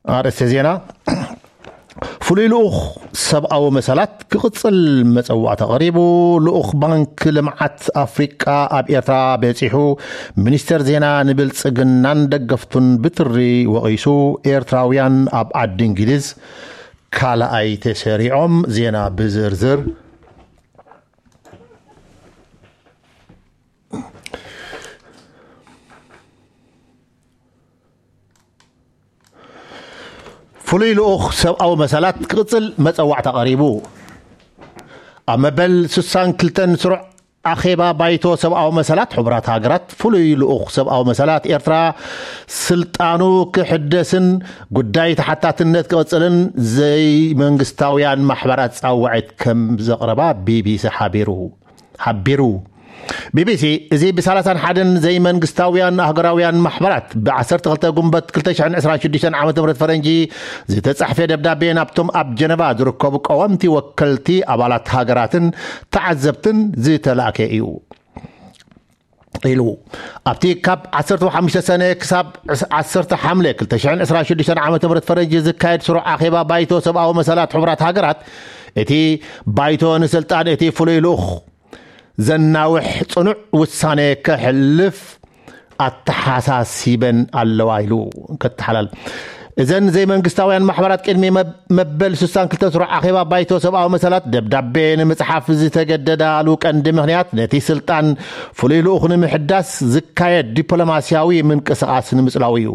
ኣርእስተ ዜና። ፍሉይ ልኡኽ ሰብኣዊ መሰላት ክቕጽል መጸዋዕታ ቀሪቡ። ልኡኽ ባንክ ልምዓት ኣፍሪቃ ኣብ ኤርትራ በጺሑ። ሚኒስተር ዜና ንብልጽግናን ደገፍቱን ብትሪ ወቒሱ። ኤርትራውያን ኣብ ዓዲ እንግሊዝ ካልኣይ ተሰሪዖም። ዜና ብዝርዝር። ፍሉይ ልኡኽ ሰብኣዊ መሰላት ክቕጽል መጸዋዕታ ቀሪቡ። ኣብ መበል ስሳን ክልተን ስሩዕ ኣኼባ ባይቶ ሰብኣዊ መሰላት ሕቡራት ሃገራት፣ ፍሉይ ልኡኽ ሰብኣዊ መሰላት ኤርትራ ስልጣኑ ክሕደስን ጉዳይ ተሓታትነት ክቕጽልን ዘይመንግስታውያን ማሕበራት ጻውዒት ከም ዘቕረባ ቢቢሲ ሓቢሩ። ሓቢሩ። ቢቢሲ፣ እዚ ብ ሰላሳን ሓደን ዘይመንግስታውያን ኣህጉራውያን ማሕበራት ብ ዓሰርተ ክልተ ጉንበት ክልተ ሽሕን ዕስራን ሽዱሽተን ዓመተ ምህረት ፈረንጂ ዝተጻሕፈ ደብዳቤ ናብቶም ኣብ ጀነቫ ዝርከቡ ቀወምቲ ወከልቲ ኣባላት ሃገራትን ተዓዘብትን ዝተላእከ እዩ ኢሉ። ኣብቲ ካብ ዓሰርተ ሓሙሽተ ሰነ ክሳብ ዓሰርተ ሓምለ ክልተ ሽሕን ዕስራን ሽዱሽተን ዓመተ ምህረት ፈረንጂ ዝካየድ ስሩዕ ኣኼባ ባይቶ ሰብኣዊ መሰላት ሕቡራት ሃገራት፣ እቲ ባይቶ ንስልጣን እቲ ፍሉይ ልኡኽ ዘናውሕ ጽኑዕ ውሳኔ ከሕልፍ ኣተሓሳሲበን ኣለዋ ኢሉ። ከተሓላል እዘን ዘይመንግስታውያን ማሕበራት ቅድሚ መብ-፣ መበል ስሳን ክልተን ስሩዕ ኣኼባ ባይቶ ሰብኣዊ መሰላት ደብዳቤ ንምጽሓፍ ዝተገደዳሉ ቀንዲ ምኽንያት ነቲ ስልጣን ፍሉይ ልኡኽ ንምሕዳስ ዝካየድ ዲፕሎማስያዊ ምንቅስቓስ ንምጽላው እዩ።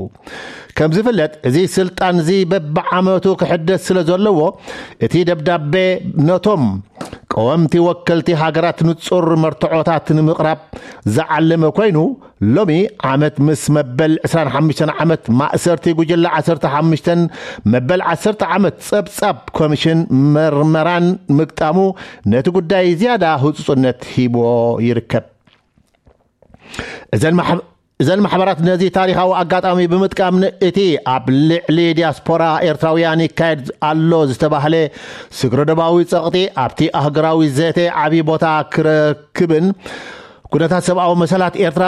ከም ዝፍለጥ፣ እዚ ስልጣን እዚ በብዓመቱ ክሕደስ ስለ ዘለዎ፣ እቲ ደብዳቤ ነቶም ቀወምቲ ወከልቲ ሃገራት ንጹር መርትዖታት ንምቕራብ ዝዓለመ ኮይኑ፣ ሎሚ ዓመት ምስ መበል ዕስራን ሓሙሽተን ዓመት ማእሰርቲ ጉጅለ ዓሰርተ ሓሙሽተን መበል ዓሰርተ ዓመት ጸብጻብ ኮሚሽን መርመራን ምግጣሙ ነቲ ጉዳይ ዝያዳ ህጹጽነት ሂቦ ይርከብ። እዘን ማሕ-፣ እዘን ማሕበራት ነዚ ታሪኻዊ ኣጋጣሚ ብምጥቃም ን-፣ እቲ ኣብ ልዕሊ ዲያስፖራ ኤርትራውያን ይካየድ ኣሎ ዝተባህለ ስግረዶባዊ ጸቕጢ ኣብቲ ኣህጉራዊ ዘተ ዓቢ ቦታ ክረክብን ኩነታት ሰብኣዊ መሰላት ኤርትራ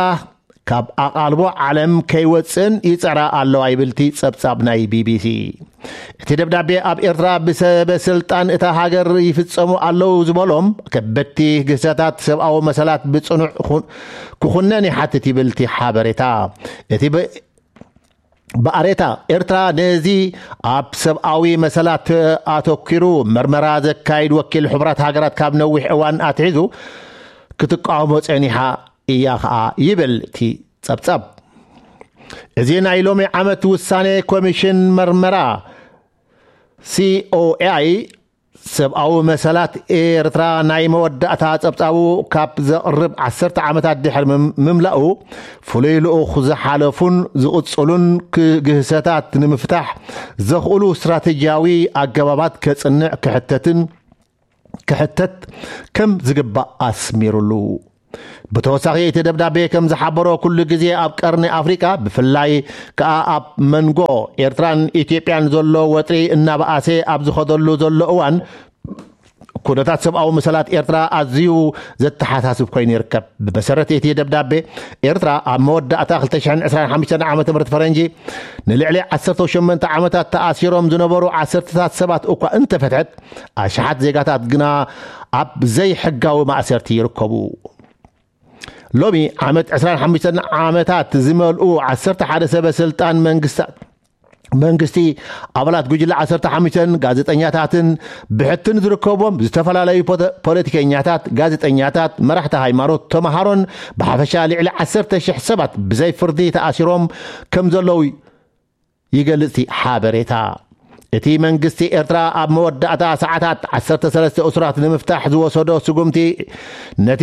ካብ ኣቓልቦ ዓለም ከይወጽእን ይጸራ ኣለዋ ይብል እቲ ጸብጻብ ናይ ቢቢሲ። እቲ ደብዳቤ ኣብ ኤርትራ ብሰበ ስልጣን እታ ሃገር ይፍጸሙ ኣለዉ ዝበሎም ከበድቲ ግህሰታት ሰብኣዊ መሰላት ብጽኑዕ ኩ-፣ ክኹነን ይሓትት ይብል እቲ ሓበሬታ። እቲ ብ-፣ ብኣሬታ ኤርትራ ነዚ ኣብ ሰብኣዊ መሰላት ኣተኲሩ መርመራ ዘካይድ ወኪል ሕቡራት ሃገራት ካብ ነዊሕ እዋን ኣትሒዙ ክትቃወሞ ጸኒሓ እያ ኸኣ ይብል እቲ ጸብጻብ። እዚ ናይ ሎሚ ዓመት ውሳኔ ኮሚሽን መርመራ ሲኦኤኣይ ሰብኣዊ መሰላት ኤርትራ ናይ መወዳእታ ጸብጻቡ ካብ ዘቕርብ ዓሰርተ ዓመታት ድሕሪ ምም-፣ ምምላኡ፣ ፍሉይ ልኡኽ ዝሓለፉን ዝቕጽሉን ክ-፣ ግህሰታት ንምፍታሕ ዘኽእሉ ስትራተጂያዊ ኣገባባት ከጽንዕ ክሕተትን፣ ክሕተት ከም ዝግባእ ኣስሚሩሉ። ብተወሳኺ እቲ ደብዳቤ ከም ዝሓበሮ፣ ኩሉ ግዜ ኣብ ቀርኒ ኣፍሪቃ፣ ብፍላይ ከኣ ኣብ መንጎ ኤርትራን ኢትዮጵያን ዘሎ ወጥሪ እናበኣሰ ኣብ ዝኸደሉ ዘሎ እዋን፣ ኩነታት ሰብኣዊ መሰላት ኤርትራ ኣዝዩ ዘተሓሳስብ ኮይኑ ይርከብ። ብመሰረት እቲ ደብዳቤ፣ ኤርትራ ኣብ መወዳእታ ክልተ ሽሕን ዕስራን ሓሙሽተን ዓመተ ምህረት ፈረንጂ ንልዕሊ ዓሰርተ ሸሞንተ ዓመታት ተኣሲሮም ዝነበሩ ዓሰርተታት ሰባት እኳ እንተፈትሐት፣ ኣሽሓት ዜጋታት ግና ኣብ ዘይሕጋዊ ማእሰርቲ ይርከቡ። ሎሚ ዓመት ዕስራን ሓሙሽተን ዓመታት ዝመልኡ ዓሰርተ ሓደ ሰበ ስልጣን መንግስታት፣ መንግስቲ፣ ኣባላት ጉጅለ ዓሰርተ ሓሙሽተን፣ ጋዜጠኛታትን ብሕትን ዝርከቦም ዝተፈላለዩ ፖተ-፣ ፖለቲከኛታት፣ ጋዜጠኛታት፣ መራሕቲ ሃይማኖት፣ ተምሃሮን ብሓፈሻ ልዕሊ ዓሰርተ ሽሕ ሰባት ብዘይ ፍርዲ ተኣሲሮም ከም ዘለዉ ይገልጽ እቲ ሓበሬታ። እቲ መንግስቲ ኤርትራ ኣብ መወዳእታ ሰዓታት ዓሰርተ ሰለስተ እሱራት ንምፍታሕ ዝወሰዶ ስጉምቲ ነቲ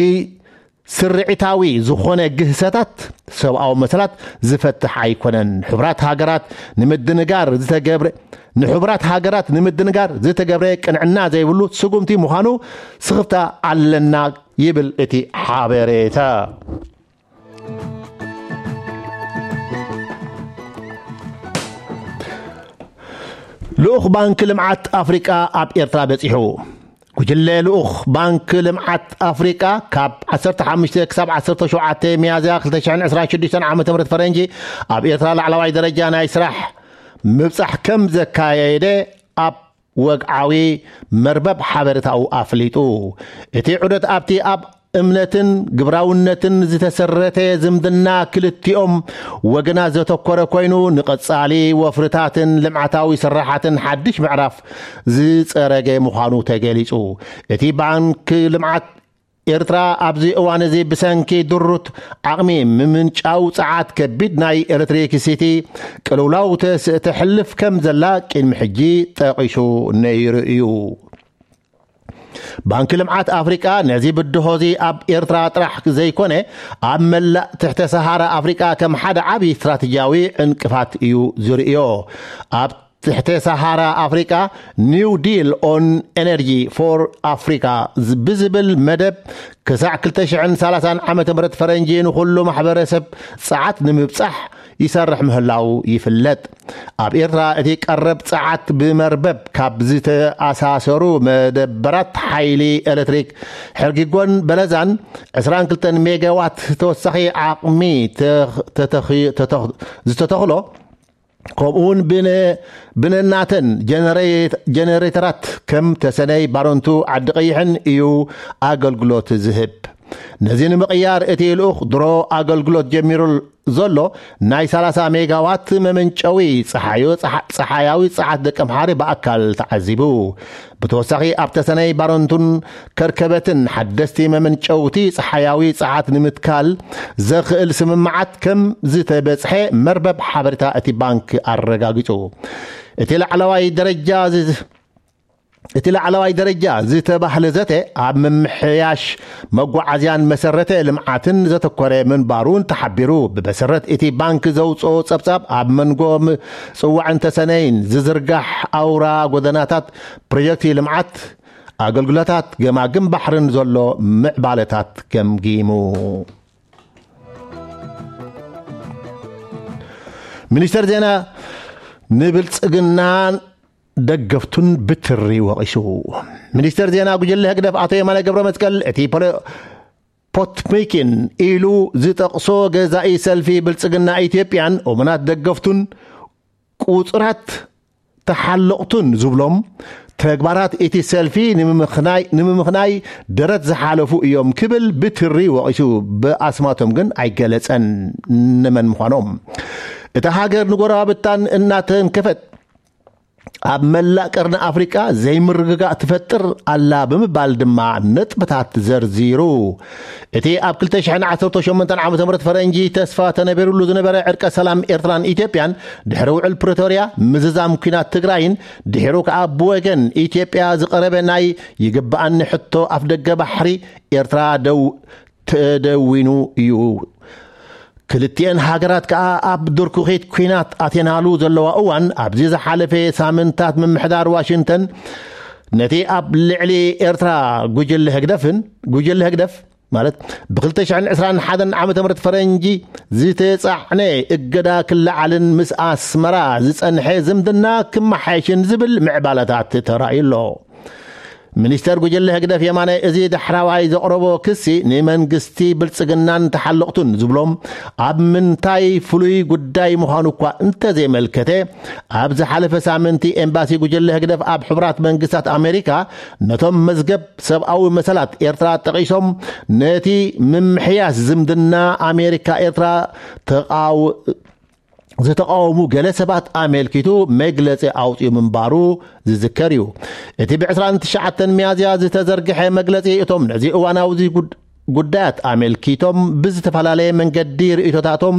ስርዒታዊ ዝኾነ ግህሰታት ሰብኣዊ መሰላት ዝፈትሕ ኣይኮነን። ሕቡራት ሃገራት ንምድንጋር ዝተገብረ፣ ንሕቡራት ሃገራት ንምድንጋር ዝተገብረ ቅንዕና ዘይብሉ ስጉምቲ ምዃኑ ስኽፍታ ኣለና ይብል እቲ ሓበሬታ። ልኡኽ ባንክ ልምዓት ኣፍሪቃ ኣብ ኤርትራ በጺሑ። ጉጅለ ልኡኽ ባንክ ልምዓት ኣፍሪቃ ካብ ዓሰርተ ሓሙሽተ ክሳብ ዓሰርተ ሸውዓተ ሚያዝያ ክልተ ሽሕን ዕስራን ሽዱሽተን ዓመተ ምህረት ፈረንጂ ኣብ ኤርትራ ላዕለዋይ ደረጃ ናይ ስራሕ ምብጻሕ ከም ዘካየደ ኣብ ወግዓዊ መርበብ ሓበሬታኡ ኣፍሊጡ። እቲ ዑደት ኣብቲ ኣብ እምነትን ግብራውነትን ዝተሰረተ ዝምድና ክልቲኦም ወገናት ዘተኮረ ኮይኑ፣ ንቐጻሊ ወፍርታትን ልምዓታዊ ስራሓትን ሓድሽ ምዕራፍ ዝጸረገ ምዃኑ ተገሊጹ። እቲ ባንክ ልምዓት ኤርትራ ኣብዚ እዋን እዚ ብሰንኪ ድሩት ዓቕሚ ምምንጫው ጸዓት ከቢድ ናይ ኤሌክትሪክሲቲ ቅልውላው ተስ-፣ ተሕልፍ ከም ዘላ ቅድሚ ሕጂ ጠቒሱ ነይሩ እዩ። ባንኪ ልምዓት ኣፍሪቃ ነዚ ብድሆ እዚ ኣብ ኤርትራ ጥራሕ ዘይኮነ ኣብ መላእ ትሕተ ሰሃራ ኣፍሪቃ ከም ሓደ ዓቢ ስትራቴጂያዊ ዕንቅፋት እዩ ዝርእዮ። ኣብ ትሕተ ሰሃራ ኣፍሪቃ New Deal on Energy for Africa ብዝብል መደብ ክሳዕ ክልተ ሽሕን ሰላሳን ዓመተ ምህረት ፈረንጂ ንኹሉ ማሕበረሰብ ጸዓት ንምብጻሕ ይሰርሕ ምህላው ይፍለጥ። ኣብ ኤርትራ እቲ ቀረብ ጸዓት ብመርበብ ካብ ዝተኣሳሰሩ መደበራት ሓይሊ ኤሌክትሪክ ሕርጊጎን በለዛን ዕስራን ክልተን ሜጋዋት ተወሳኺ ዓቕሚ ተኽ-፣ ተተኺ-፣ ተተኽ-፣ ዝተተኽሎ፣ ከምኡውን ብነ-፣ ብነናተን ጀነሬት-፣ ጀነሬተራት ከም ተሰነይ፣ ባረንቱ፣ ዓዲ ቀይሕን እዩ ኣገልግሎት ዝህብ። ነዚ ንምቕያር እቲ ልኡኽ ድሮ ኣገልግሎት ጀሚሩ ዘሎ ናይ ሰላሳ ሜጋዋት መመንጨዊ ጸሓዮ-፣ ጸሓ-፣ ጸሓያዊ ጸዓት ደቀምሓሪ ብኣካል ተዓዚቡ። ብተወሳኺ ኣብ ተሰነይ፣ ባረንቱን ከርከበትን ሓደስቲ መመንጨውቲ ጸሓያዊ ጸዓት ንምትካል ዘኽእል ስምምዓት ከም ዝተበጽሐ መርበብ ሓበሬታ እቲ ባንክ ኣረጋጊጹ። እቲ ላዕለዋይ ደረጃ ዝ-፣ እቲ ላዕለዋይ ደረጃ ዝተባህለ ዘተ ኣብ ምምሕያሽ መጓዓዝያን መሰረተ ልምዓትን ዘተኮረ ምንባሩን ተሓቢሩ። ብመሰረት እቲ ባንክ ዘውፅኦ ጸብጻብ፣ ኣብ መንጎ ም-፣ ጽዋዕን ተሰነይን ዝዝርጋሕ ኣውራ ጎደናታት፣ ፕሮጀክት ልምዓት፣ ኣገልግሎታት ገማግም ባሕርን ዘሎ ምዕባለታት ገምጊሙ። ሚኒስተር ዜና ንብልጽግናን ደገፍቱን ብትሪ ወቒሱ። ሚኒስተር ዜና ጉጅለ ህግደፍ ኣቶ የማነ ገብረ መስቀል፣ እቲ ፖለ-፣ ፖትሚኪን ኢሉ ዝጠቕሶ ገዛኢ ሰልፊ ብልጽግና ኢትዮጵያን እሙናት ደገፍቱን ቁጽራት ተሓለቕቱን ዝብሎም ተግባራት እቲ ሰልፊ ንምምኽናይ፣ ንምምኽናይ ደረት ዝሓለፉ እዮም ክብል ብትሪ ወቒሱ። ብኣስማቶም ግን ኣይገለጸን ንመን ምዃኖም። እታ ሃገር ንጎረባብታን እናተንከፈት ኣብ መላእ ቀርኒ ኣፍሪቃ ዘይምርግጋእ ትፈጥር ኣላ ብምባል ድማ ነጥብታት ዘርዚሩ። እቲ ኣብ ክልተ ሽሕን ዓሰርተ ሸሞንተን ዓመተ ምህረት ፈረንጂ ተስፋ ተነቢሩሉ ዝነበረ ዕርቀ ሰላም ኤርትራን ኢትዮጵያን ድሕሪ ውዕል ፕሪቶርያ፣ ምዝዛም ኲናት ትግራይን ድሒሩ ከኣ ብወገን ኢትዮጵያ ዝቐረበ ናይ ይግብኣኒ ሕቶ ኣፍደገ ባሕሪ ኤርትራ ደው-፣ ተደዊኑ እዩ። ክልቲኤን ሃገራት ከኣ ኣብ ድርኩኺት ኲናት ኣትየናሉ ዘለዋ እዋን፣ ኣብዚ ዝሓለፈ ሳምንታት ምምሕዳር ዋሽንግተን ነቲ ኣብ ልዕሊ ኤርትራ ጉጅለ ህግደፍን፣ ጉጅለ ህግደፍ ማለት ብክልተ ሽሕን ዕስራን ሓደን ዓመተ ምህረት ፈረንጂ ዝተጻዕነ እገዳ ክለዓልን ምስ ኣስመራ ዝጸንሐ ዝምድና ክመሓየሽን ዝብል ምዕባለታት ተራእዩ ኣሎ። ሚኒስተር ጉጅለ ህግደፍ የማነ እዚ ዳሕራዋይ ዘቕረቦ ክሲ ንመንግስቲ ብልጽግናን ተሓለቕቱን ዝብሎም ኣብ ምንታይ ፍሉይ ጉዳይ ምዃኑ እኳ እንተዘይመልከተ፣ ኣብ ዝሓለፈ ሳምንቲ ኤምባሲ ጉጅለ ህግደፍ ኣብ ሕቡራት መንግስታት ኣሜሪካ ነቶም መዝገብ ሰብኣዊ መሰላት ኤርትራ ጠቒሶም ነቲ ምምሕያስ ዝምድና ኣሜሪካ ኤርትራ ተቓው-፣ ዝተቃወሙ ገለ ሰባት ኣመልኪቱ መግለጺ ኣውጺኡ ምንባሩ ዝዝከር እዩ። እቲ ብ ዕስራን ትሽዓተን ሚያዝያ ዝተዘርግሐ መግለጺ፣ እቶም ነዚ እዋናዊ ጉድ-፣ ጉዳያት ኣመልኪቶም ብዝተፈላለየ መንገዲ ርእይቶታቶም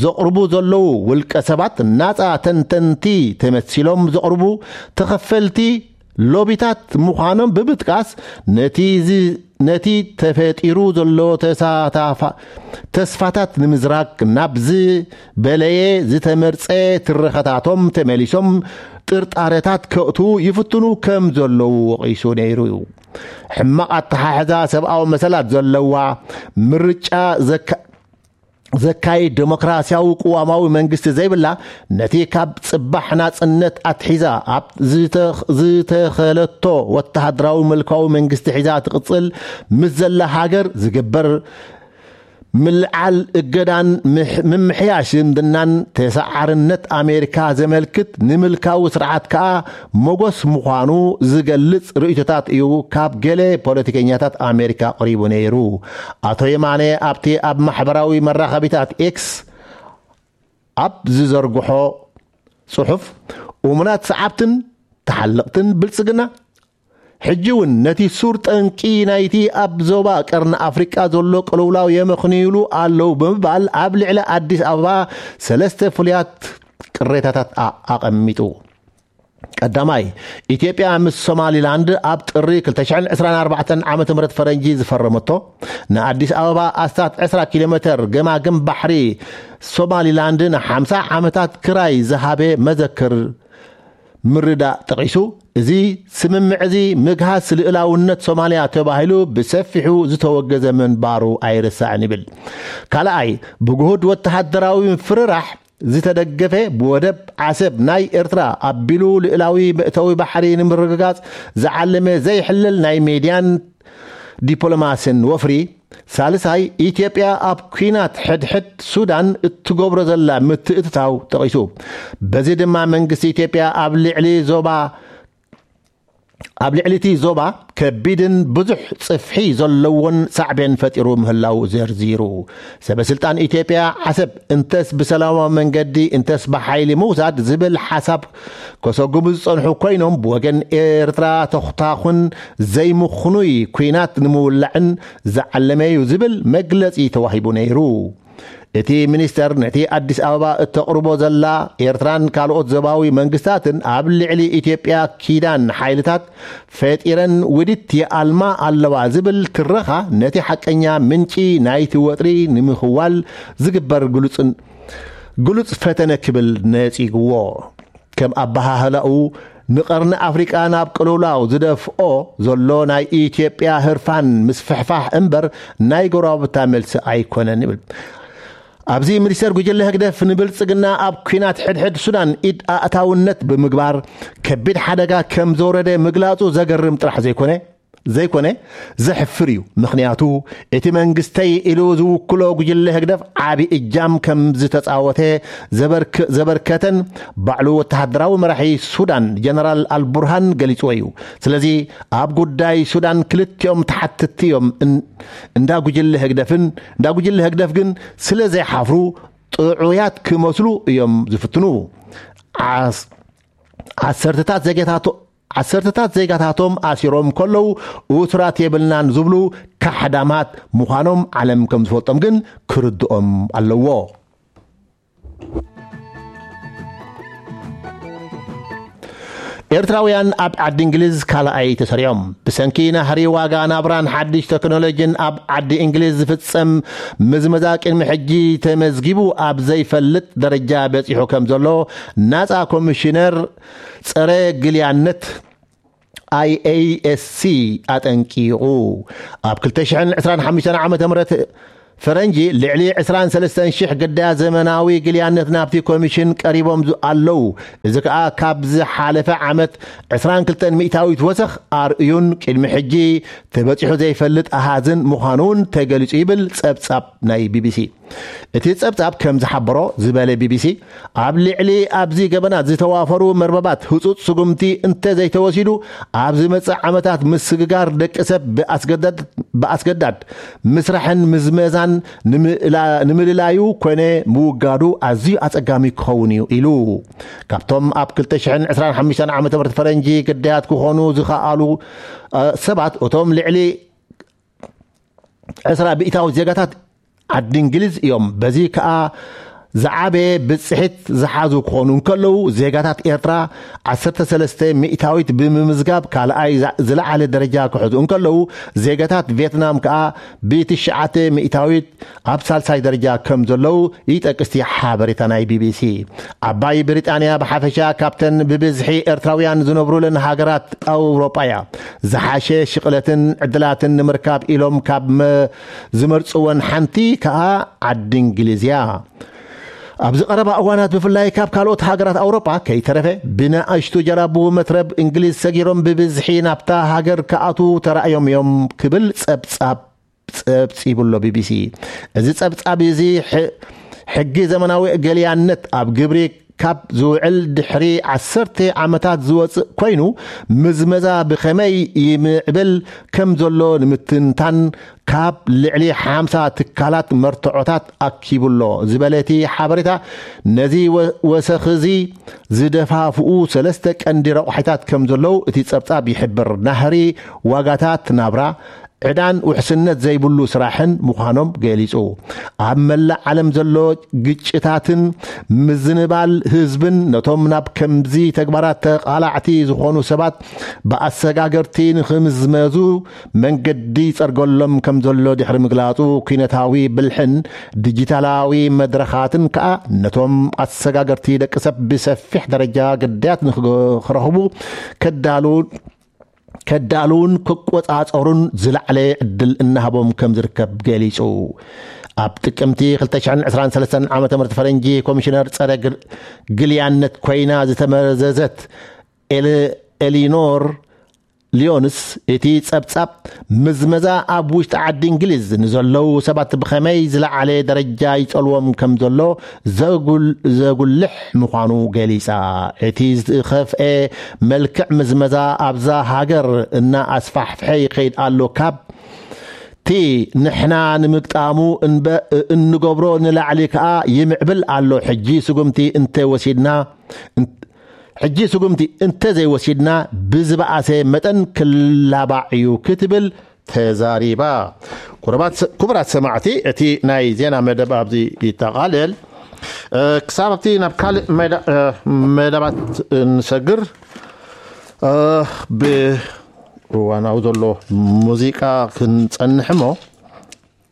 ዘቕርቡ ዘለዉ ውልቀ ሰባት ናጻ ተንተንቲ ተመሲሎም ዘቕርቡ ተኸፈልቲ ሎቢታት ምዃኖም ብምጥቃስ፣ ነቲ ዝ-፣ ነቲ ተፈጢሩ ዘሎ ተሳታፋ-፣ ተስፋታት ንምዝራግ ናብ ዝበለየ ዝተመርጸ ትረኸታቶም ተመሊሶም ጥርጣረታት ከእቱ ይፍትኑ ከም ዘለዉ ወቒሱ ነይሩ እዩ። ሕማቕ ኣተሓሕዛ ሰብኣዊ መሰላት ዘለዋ ምርጫ ዘካ-፣ ዘካይድ ዴሞክራሲያዊ ቅዋማዊ መንግስቲ ዘይብላ፣ ነቲ ካብ ጽባሕ ናጽነት ኣትሒዛ ኣብ ዝተኽ-፣ ዝተኸለቶ ወተሃደራዊ ምልካዊ መንግስቲ ሒዛ ትቕጽል ምስ ዘላ ሃገር ዝግበር ምልዓል እገዳን ምምሕያሽ ዝምድናን ተሰዓርነት ኣሜሪካ ዘመልክት፣ ንምልካዊ ስርዓት ከኣ መጎስ ምዃኑ ዝገልጽ ርእይቶታት እዩ ካብ ገለ ፖለቲከኛታት ኣሜሪካ ቀሪቡ ነይሩ። ኣቶ የማነ ኣብቲ ኣብ ማሕበራዊ መራኸቢታት ኤክስ ኣብ ዝዘርግሖ ጽሑፍ፣ እሙናት ሰዓብትን ተሓለቕትን ብልጽግና ሕጂ እውን ነቲ ሱር ጠንቂ ናይቲ ኣብ ዞባ ቀርኒ ኣፍሪቃ ዘሎ ቅልውላው የመኽንዩሉ ኣለዉ ብምባል ኣብ ልዕሊ ኣዲስ ኣበባ ሰለስተ ፍሉያት ቅሬታታት ኣቐሚጡ። ቀዳማይ፣ ኢትዮጵያ ምስ ሶማሊላንድ ኣብ ጥሪ ክልተ ሽሕን ዕስራን ኣርባዕተን ዓመተ ምህረት ፈረንጂ ዝፈረመቶ ንኣዲስ ኣበባ ኣስታት ዕስራ ኪሎ ሜተር ገማግም ባሕሪ ሶማሊላንድ ንሓምሳ ዓመታት ክራይ ዝሃበ መዘክር ምርዳእ ጠቒሱ፣ እዚ ስምምዕ እዚ ምግሃስ ልእላውነት ሶማልያ ተባሂሉ ብሰፊሑ ዝተወገዘ ምንባሩ ኣይርሳዕን ይብል። ካልኣይ፣ ብግሁድ ወተሃደራዊ ምፍርራሕ ዝተደገፈ ብወደብ ዓሰብ ናይ ኤርትራ ኣቢሉ ልእላዊ መእተዊ ባሕሪ ንምርግጋጽ ዝዓለመ ዘይሕለል ናይ ሜድያን ዲፕሎማስን ወፍሪ። ሳልሳይ፣ ኢትዮጵያ ኣብ ኲናት ሕድሕድ ሱዳን እትገብሮ ዘላ ምትእትታው ጠቒሱ፣ በዚ ድማ መንግስቲ ኢትዮጵያ ኣብ ልዕሊ ዞባ ኣብ ልዕሊ እቲ ዞባ ከቢድን ብዙሕ ጽፍሒ ዘለዎን ሳዕቤን ፈጢሩ ምህላው ዘርዚሩ። ሰበ ስልጣን ኢትዮጵያ ዓሰብ እንተስ ብሰላማዊ መንገዲ እንተስ ብሓይሊ ምውሳድ ዝብል ሓሳብ ከሰጉሙ ዝጸንሑ ኮይኖም፣ ብወገን ኤርትራ ተኹታኹን ዘይምኽኑይ ኲናት ንምውላዕን ዝዓለመ እዩ ዝብል መግለጺ ተዋሂቡ ነይሩ። እቲ ሚኒስተር ነቲ ኣዲስ ኣበባ እተቕርቦ ዘላ ኤርትራን ካልኦት ዞባዊ መንግስታትን ኣብ ልዕሊ ኢትዮጵያ ኪዳን ሓይልታት ፈጢረን ውዲት ይኣልማ ኣለዋ ዝብል ትረኻ ነቲ ሓቀኛ ምንጪ ናይቲ ወጥሪ ንምኽዋል ዝግበር ግሉጽን-፣ ግሉጽ ፈተነ ክብል ነጺግዎ። ከም ኣበሃህላኡ ንቐርኒ ኣፍሪቃ ናብ ቅልውላው ዝደፍኦ ዘሎ ናይ ኢትዮጵያ ህርፋን ምስፍሕፋሕ እምበር ናይ ጎረባብታ መልሲ ኣይኮነን ይብል። ኣብዚ ሚኒስተር ጉጅለ ህግደፍ ንብልጽግና ኣብ ኲናት ሕድሕድ ሱዳን ኢድ ኣእታውነት ብምግባር ከቢድ ሓደጋ ከም ዘውረደ ምግላጹ ዘገርም ጥራሕ ዘይኮነ፣ ዘይኮነ ዘሕፍር እዩ። ምኽንያቱ እቲ መንግስተይ ኢሉ ዝውክሎ ጉጅለ ህግደፍ ዓቢ እጃም ከም ዝተጻወተ ዘበርክ-፣ ዘበርከተን ባዕሉ ወተሃደራዊ መራሒ ሱዳን ጀነራል ኣልቡርሃን ገሊጽዎ እዩ። ስለዚ ኣብ ጉዳይ ሱዳን ክልቲኦም ተሓትቲ እዮም። እን-፣ እንዳ ጉጅለ ህግደፍን፣ እንዳ ጉጅለ ህግደፍ ግን ስለ ዘይሓፍሩ ጥዑያት ክመስሉ እዮም ዝፍትኑ። ዓስ-፣ ዓሰርተታት ዜጋታቶ-፣ ዓሰርተታት ዜጋታቶም ኣሲሮም ከለዉ እሱራት የብልናን ዝብሉ ካሕዳማት ምዃኖም ዓለም ከም ዝፈልጦም ግን ክርድኦም ኣለዎ። ኤርትራውያን ኣብ ዓዲ እንግሊዝ ካልኣይ ተሰሪዖም። ብሰንኪ ናህሪ ዋጋ ናብራን ሓድሽ ቴክኖሎጂን ኣብ ዓዲ እንግሊዝ ዝፍጸም ምዝመዛ ቅድሚ ሕጂ ተመዝጊቡ ኣብ ዘይፈልጥ ደረጃ በጺሑ ከም ዘሎ ናጻ ኮሚሽነር ጸረ ግልያነት ኣይ ኤ ኤስ ሲ ኣጠንቂቑ። ኣብ ክልተ ሽሕን ዕስራን ሓሙሽተን ዓመተ ምህረት ፈረንጂ ልዕሊ ዕስራን ሰለስተን ሽሕ ግዳያት ዘመናዊ ግልያነት ናብቲ ኮሚሽን ቀሪቦም ዝ-፣ ኣለዉ። እዚ ከኣ ካብ ዝሓለፈ ዓመት ዕስራን ክልተን ሚእታዊት ወሰኽ ኣርእዩን ቅድሚ ሕጂ ተበጺሑ ዘይፈልጥ ኣሃዝን ምዃኑ እውን ተገሊጹ ይብል ጸብጻብ ናይ ቢ ቢ ሲ። እቲ ጸብጻብ ከም ዝሓበሮ ዝበለ ቢ ቢ ሲ፣ ኣብ ልዕሊ ኣብዚ ገበናት ዝተዋፈሩ መርበባት ህጹጽ ስጉምቲ እንተ ዘይተወሲዱ፣ ኣብ ዝመጽእ ዓመታት ምስግጋር ደቂ ሰብ ብኣስገዳድ-፣ ብኣስገዳድ ምስራሕን ምዝመዛን ንምእላ-፣ ንምልላዩ ኮነ ምውጋዱ ኣዝዩ ኣጸጋሚ ክኸውን እዩ ኢሉ። ካብቶም ኣብ ክልተ ሽሕን ዕስራን ሓሙሽተን ዓመተ ምህረት ፈረንጂ ግዳያት ክኾኑ ዝኸኣሉ፣ እ፣ ሰባት እቶም ልዕሊ ዕስራ ሚእታዊት ዜጋታት ዓዲ እንግሊዝ እዮም። በዚ ከኣ ዝዓበየ ብጽሒት ዝሓዙ ክኾኑ እንከለዉ፣ ዜጋታት ኤርትራ ዓሰርተ ሰለስተ ሚእታዊት ብምምዝጋብ ካልኣይ ዛ-፣ ዝለዓለ ደረጃ ክሕዙ እንከለዉ፣ ዜጋታት ቪየትናም ከኣ ብትሽዓተ ሚእታዊት ኣብ ሳልሳይ ደረጃ ከም ዘለዉ ይጠቅስ እቲ ሓበሬታ ናይ ቢ ቢ ሲ። ዓባይ ብሪጣንያ ብሓፈሻ ካብተን ብብዝሒ ኤርትራውያን ዝነብሩለን ሃገራት ኣውሮጳ እያ። ዝሓሸ ሽቕለትን ዕድላትን ንምርካብ ኢሎም ካብ መ-፣ ዝመርጽወን ሓንቲ ከኣ ዓዲ እንግሊዝ እያ። ኣብዚ ቀረባ እዋናት ብፍላይ ካብ ካልኦት ሃገራት ኣውሮጳ ከይተረፈ ብንኣሽቱ ጀላቡ መትረብ እንግሊዝ ሰጊሮም ብብዝሒ ናብታ ሃገር ክኣትዉ ተራእዮም እዮም ክብል ጸብጻብ ጸብጺቡ ኣሎ ቢቢሲ። እዚ ጸብጻብ እዚ ሕጊ ዘመናዊ ገሊያነት ኣብ ግብሪ ካብ ዝውዕል ድሕሪ ዓሰርተ ዓመታት ዝወጽእ ኮይኑ፣ ምዝመዛ ብኸመይ ይምዕብል ከም ዘሎ ንምትንታን ካብ ልዕሊ ሓምሳ ትካላት መርትዖታት ኣኪቡ ኣሎ ዝበለ እቲ ሓበሬታ፣ ነዚ ወሰኺ እዚ ዝደፋፍኡ ሰለስተ ቀንዲ ረቑሒታት ከም ዘለዉ እቲ ጸብጻብ ይሕብር። ናህሪ ዋጋታት ናብራ፣ ዕዳን ውሕስነት ዘይብሉ ስራሕን ምዃኖም ገሊጹ። ኣብ መላእ ዓለም ዘሎ ግጭታትን ምዝንባል ህዝብን ነቶም ናብ ከምዚ ተግባራት ተቓላዕቲ ዝኾኑ ሰባት ብኣሰጋገርቲ ንኽምዝመዙ መንገዲ ይጸርገሎም ከም ዘሎ ድሕሪ ምግላጹ፣ ኩነታዊ ብልሕን ዲጂታላዊ መድረኻትን ከኣ ነቶም ኣሰጋገርቲ ደቂ ሰብ ብሰፊሕ ደረጃ ግዳያት ንኽረኽቡ ከዳሉ ከዳልውን ክቆጻጸሩን ዝለዓለ ዕድል እናሃቦም ከም ዝርከብ ገሊጹ። ኣብ ጥቅምቲ ክልተ ሽሕን ዕስራን ሰለስተን ዓመተ ምህረት ፈረንጂ ኮሚሽነር ጸረ ግል- ግልያነት ኮይና ዝተመዘዘት ኤለ- ኤሊኖር ሊዮንስ፣ እቲ ጸብጻብ ምዝመዛ ኣብ ውሽጢ ዓዲ እንግሊዝ ንዘለዉ ሰባት ብኸመይ ዝለዓለ ደረጃ ይጸልዎም ከም ዘሎ ዘጉል- ዘጉልሕ ምዃኑ ገሊጻ። እቲ ዝኸፍኤ መልክዕ ምዝመዛ ኣብዛ ሃገር እና ኣስፋሕፍሐ ይኸይድ ኣሎ። ካብ እቲ ንሕና ንምግጣሙ እንበ- እንገብሮ ንላዕሊ ከኣ ይምዕብል ኣሎ። ሕጂ ስጉምቲ እንተ ወሲድና ሕጂ ስጉምቲ እንተ ዘይወሲድና ብዝበኣሰ መጠን ክላባዕ እዩ ክትብል ተዛሪባ። ኩረባት- ክቡራት ሰማዕቲ፣ እቲ ናይ ዜና መደብ ኣብዚ ይጠቓለል። እ፣ ክሳብ ኣብቲ ናብ ካልእ መዳ- እ፣ መደባት እንሰግር፣ እ፣ ብእዋናዊ ዘሎ ሙዚቃ ክንጸንሕ እሞ፣